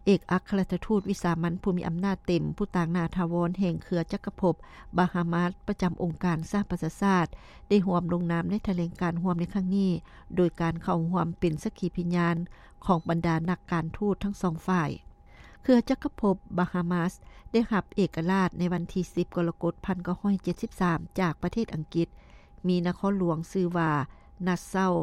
ເອກອັກຄະລັດຖະທູດວິສາມັນຜູ້ມີອຳນາດເຕັມ ຜູ້ຕາງໜ້າຖາວອນແຫ່ງເຄືອຈັກກະພົບບາຮາມາສ ປະຈຳອົງການສະຫະປະຊາຊາດ ໄດ້ຮ່ວມລົງນາມໃນຖະແຫຼງການຮ່ວມໃນຄັ້ງນີ້ ໂດຍການເຂົ້າຮ່ວມເປັນສັກຂີພະຍານຂອງບັນດານັກການທູດທັງສອງຝ່າຍ. ເຄືອຈັກກະພົບບາຮາມາສ ໄດ້ຮັບເອກະລາດໃນວັນທີສິບ ກໍລະກົດ ພັນເກົ້າຮ້ອຍເຈັດສິບສາມ ຈາກປະເທດອັງກິດ, ມີນະຄອນຫຼວງຊື່ວ່າ ນາຊາວ.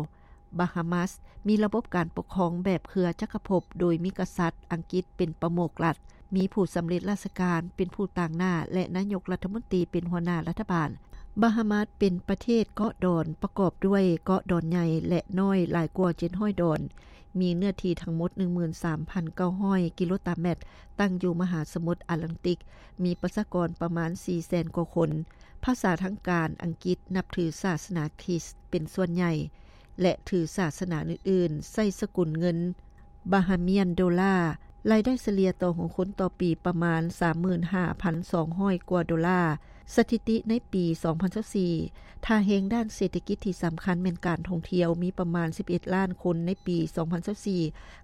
ບາຮາມາສ ມີລະບົບການປົກຄອງແບບເຄືອຈັກກະພົບ ໂດຍມີກະສັດອັງກິດເປັນປະມຸກລັດ, ມີຜູ້ສຳເລັດລາຊະການເປັນຜູ້ຕາງໜ້າ ແລະ ນາຍົກລັດຖະມົນຕີເປັນຫົວໜ້າລັດຖະບານ. ບາຮາມາສ ເປັນປະເທດເກາະດອນ ປະກອບດ້ວຍເກາະດອນໃຫຍ່ ແລະ ນ້ອຍຫຼາຍກວ່າເຈັດຮ້ອຍດອນ, ມີເນື້ອທີ່ທັງໝົດ ໜຶ່ງໝື່ນສາມພັນເກົ້າຮ້ອຍກິໂລຕາແມັດ, ຕັ້ງຢູ່ມະຫາສະໝຸດອາດແລນຕິກ, ມີປະຊາກອນປະມານສີ່ແສນກວ່າຄົນ. ພາສາທາງການອັງກິດ ນັບຖືສາສະໜາຄຣິສເປັນສ່ວນໃຫຍ່ ແລະ ຖືສາສະໜາອື່ນໆ, ໃຊ້ສະກຸນເງິນ Bahamian dollar. ລາຍໄດ້ສະເລ່ຍຕໍ່ຫົວຄົນຕໍ່ປີປະມານສາມໝື່ນຫ້າພັນສອງຮ້ອຍກວ່າໂດລາ. ສະຖິຕິໃນປີສອງພັນຊາວສີ່ ທ່າແຮງດ້ານເສດຖະກິດທີ່ສຳຄັນແມ່ນການທ່ອງທ່ຽວ ມີປະມານສິບເອັດລ້ານຄົນໃນປີສອງພັນຊາວສີ່,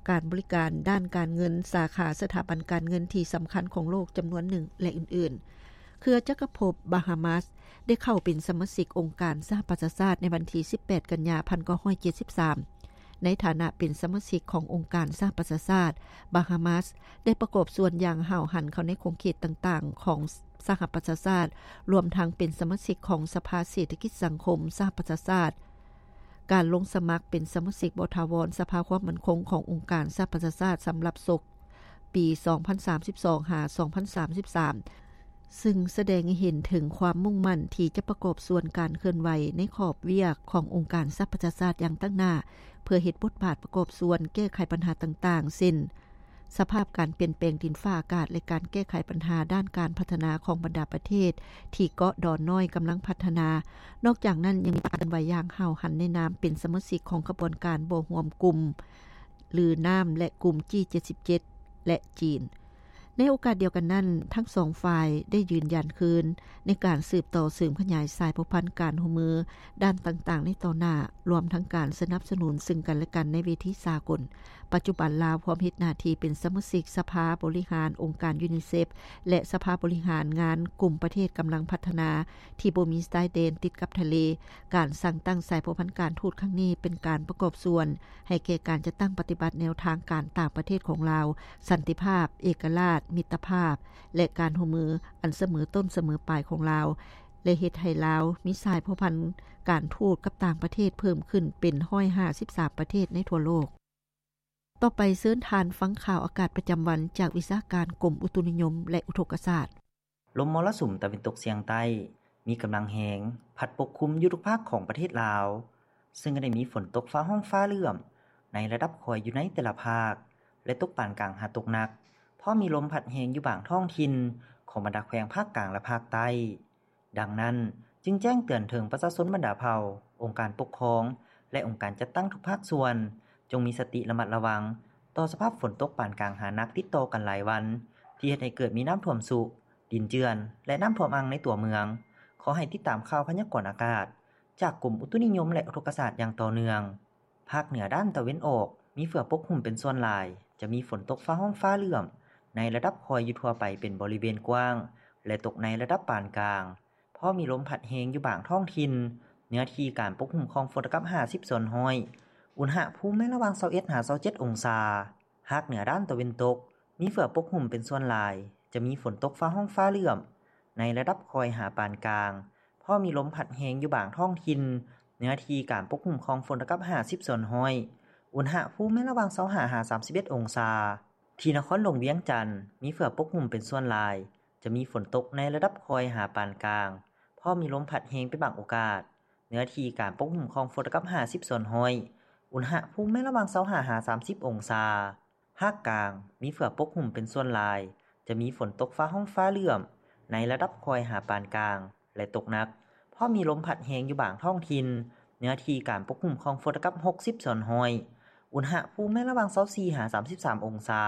ການບໍລິການດ້ານການເງິນ, ສາຂາສະຖາບັນການເງິນທີ່ສຳຄັນຂອງໂລກຈຳນວນໜຶ່ງ ແລະ ອື່ນໆ. ເຄືອຈັກກະພົບບາຮາມາສ ໄດ້ເຂົ້າເປັນສະມາຊິກອົງການສະຫະປະຊາຊາດໃນວັນທີສິບແປດ ກັນຍາ ພັນເກົ້າຮ້ອຍເຈັດສິບສາມ. ໃນຖານະເປັນສະມາຊິກຂອງອົງການສະຫະປະຊາຊາດ, ບາຮາມາສ ໄດ້ປະກອບສ່ວນຢ່າງຫ້າວຫັນເຂົ້າໃນຂົງເຂດຕ່າງໆຂອງສະຫະປະຊາຊາດ, ລວມທັງເປັນສະມາຊິກຂອງສະພາເສດຖະກິດສັງຄົມສະຫະປະຊາຊາດ. ການລົງສະໝັກເປັນສະມາຊິກບໍ່ຖາວອນສະພາຄວາມໝັ້ນຄົງຂອງອົງການສະຫະປະຊາຊາດສຳລັບສົກ ປີສອງພັນສາມສິບສອງ ຫາ ສອງພັນສາມສິບສາມ ຊຶ່ງສະແດງໃຫ້ເຫັນເຖິງຄວາມມຸ່ງໝັ້ນທີ່ຈະປະກອບສ່ວນການເຄື່ອນໄຫວໃນຂອບວຽກຂອງອົງການສະຫະປະຊາຊາດຢ່າງຕັ້ງໜ້າ ເພື່ອເຮັດບົດບາດປະກອບສ່ວນແກ້ໄຂບັນຫາຕ່າງໆ ເຊັ່ນ ສະພາບການປ່ຽນແປງດິນຟ້າອາກາດ ແລະ ການແກ້ໄຂບັນຫາດ້ານການພັດທະນາຂອງບັນດາປະເທດທີ່ເກາະດອນນ້ອຍກຳລັງພັດທະນາ. ນອກຈາກນັ້ນ ຍັງມີການເຄື່ອນໄຫວຢ່າງຫ້າວຫັນໃນນາມເປັນສະມາຊິກຂອງຂະບວນການບໍ່ຮວມກຸ່ມ ຫຼື ນາມ ແລະ ກຸ່ມ ຈີ ເຈັດສິບເຈັດ ແລະ ຈີນ. ໃນໂອກາດດຽວກັນນັ້ນ, ທັງສອງຝ່າຍໄດ້ຢືນຢັນຄືນໃນການສືບຕໍ່ເສີມຂະຫຍາຍສາຍພົວພັນການຮ່ວມມືດ້ານຕ່າງໆໃນຕໍ່ໜ້າ, ລວມທັງການສະໜັບສະໜູນເຊິ່ງກັນແລະກັນໃນເວທີສາກົນ. ປັດຈຸບັນລາວພ້ອມເຮັດໜ້າທີ່ເປັນສະມາຊິກສະພາບໍລິຫານອົງການຢູນິເຊັບ ແລະ ສະພາບໍລິຫານງານກຸ່ມປະເທດກຳລັງພັດທະນາທີ່ບໍ່ມີຊາຍແດນຕິດກັບທະເລ. ການສ້າງຕັ້ງສາຍພົວພັນການທູດຄັ້ງນີ້ເປັນການປະກອບສ່ວນ ໃຫ້ແກ່ການຈັດຕັ້ງປະຕິບັດແນວທາງການຕ່າງປະເທດຂອງລາວ, ສັນຕິພາບ, ເອກະລາດ, ມິດຕະພາບ ແລະ ການຮ່ວມມືອັນສະເໝີຕົ້ນສະເໝີປາຍຂອງລາວ ແລະ ເຮັດໃຫ້ລາວມີສາຍພົວພັນການທູດກັບຕ່າງປະເທດເພີ່ມຂຶ້ນເປັນຮ້ອຍຫ້າສິບສາມປະເທດໃນທົ່ວໂລກ. ຕໍ່ໄປເຊີນທ່ານຟັງຂ່າວອາກາດປະຈຳວັນຈາກວິຊາການກົມອຸຕຸນິຍົມ ແລະ ອຸທົກກະສາດ. ລົມມໍລະສຸມຕາເວັນຕົກສຽງໃຕ້ມີກຳລັງແຮງ ພັດປົກຄຸມຢູ່ທຸກພາກຂອງປະເທດລາວ, ເຊິ່ງກໍໄດ້ມີຝົນຕົກຟ້າຮ້ອງຟ້າເຫຼື້ອມໃນລະດັບຄ່ອຍຢູ່ໃນແຕ່ລະພາກ ແລະ ຕົກປານກາງຫາຕົກໜັກ, ພ້ອມມີລົມພັດແຮງຢູ່ບາງທ້ອງຖິ່ນຂອງບັນດາແຂວງພາກກາງ ແລະ ພາກໃຕ້. ດັ່ງນັ້ນ, ຈຶ່ງແຈ້ງເຕືອນເຖິງປະຊາຊົນບັນດາເຜົ່າ, ອົງການປົກຄອງ ແລະ ອົງການຈັດຕັ້ງທຸກພາກສ່ວນ, ຈົ່ງມີສະຕິລະມັດລະວັງຕໍ່ສະພາບຝົນຕົກປານກາງຫາໜັກຕິດຕໍ່ກັນຫຼາຍວັນ, ທີ່ເຮັດໃຫ້ເກີດມີນ້ຳຖ້ວມຊຸ, ດິນເຈື່ອນ ແລະ ນ້ຳຖ້ວມອັ່ງໃນຕົວເມືອງ. ຂໍໃຫ້ຕິດຕາມຂ່າວພະຍາກອນອາກາດຈາກກົມອຸຕຸນິຍົມ ແລະ ອຸທົກກະສາດຢ່າງຕໍ່ເນື່ອງ. ພາກເໜືອດ້ານຕາເວັນອອກ ມີເຝືອປົກຫຸ້ມເປັນສ່ວນຫຼາຍ, ຈະມີຝົນຕົກຟ້າຮ້ອງຟ້າເຫຼື້ອມໃນລະດັບຄ່ອຍຢູ່ທົ່ວໄປເປັນບໍລິເວນກວ້າງ ແລະ ຕົກໃນລະດັບປານກາງ, ພໍມີລົມພັດແຮງຢູ່ບາງທ້ອງຖິ່ນ, ເນື້ອທີ່ການປົກຫຸ້ມຂອງຝົນຕະກັບຫ້າສິບສ່ວນຮ້ອຍ, ອຸນຫະພູມແມ່ນລະຫວ່າງຊາວເອັດຫາຊາວເຈັດອົງສາ. ພາກເໜືອດ້ານຕາເວັນຕົກ ມີເຝືອປົກຫຸ້ມເປັນສ່ວນຫຼາຍ, ຈະມີຝົນຕົກຟ້າຮ້ອງຟ້າເຫຼື້ອມໃນລະດັບຄ່ອຍຫາປານກາງ, ພໍມີລົມພັດແຮງຢູ່ບາງທ້ອງຖິ່ນ, ເນື້ອທີ່ການປົກຫຸ້ມຂອງຝົນຕະກັບຫ້າສິບສ່ວນຮ້ອຍ, ອຸນຫະພູມແມ່ນລະຫວ່າງຊາວຫ້າຫາສາມສິບເອັດອົງສາ. ທີ່ນະຄອນຫຼວງວຽງຈັນ ມີເຝືອປົກຫຸ້ມເປັນສ່ວນຫຼາຍ, ຈະມີຝົນຕົກໃນລະດັບຄ່ອຍຫາປານກາງ, ພໍມີລົມພັດແຮງເປັນບາງໂອກາດ, ເນື້ອທີ່ການປົກຫຸ້ມຂອງຝົນຕະກັບຫ້າສິບສ່ວນຮ້ອຍ, ອຸນຫະພູມແມ່ນລະຫວ່າງຊາວຫ້າຫາສາມສິບອົງສາ. ພາກກາງ ມີເຝືອປົກຫຸ້ມເປັນສ່ວນຫຼາຍ, ຈະມີຝົນຕົກຟ້າຮ້ອງຟ້າເຫຼື້ອມໃນລະດັບຄ່ອຍຫາປານກາງ ແລະ ຕົກໜັກ, ພໍມີລົມພັດແຮງຢູ່ບາງທ້ອງຖິ່ນ, ເນື້ອທີ່ການປົກຫຸ້ມຂອງຝົນຕະກັບຫົກສິບສ່ວນຮ້ອຍ, ອຸນຫະພູມແມ່ນລະຫວ່າງຊາວສີ່ຫາສາມສິບສາມອົງສາ.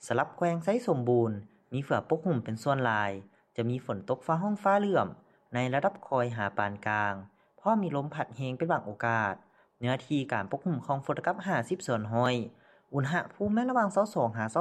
ສຳລັບແຂວງໄຊສົມບູນ ມີເຝືອປົກຫຸ້ມເປັນສ່ວນຫຼາຍ, ຈະມີຝົນຕົກຟ້າຮ້ອງຟ້າເຫຼື້ອມໃນລະດັບຄ່ອຍຫາປານກາງ, ພໍມີລົມພັດແຮງເປັນບາງໂອກາດ, ເນື້ອທີ່ການປົກຫຸ້ມຂອງຝົນຕະກັບຫ້າສິບສ່ວນຮ້ອຍ, ອຸນຫະພູມແມ່ນລະຫວ່າງຊາວສອງຫາຊາວ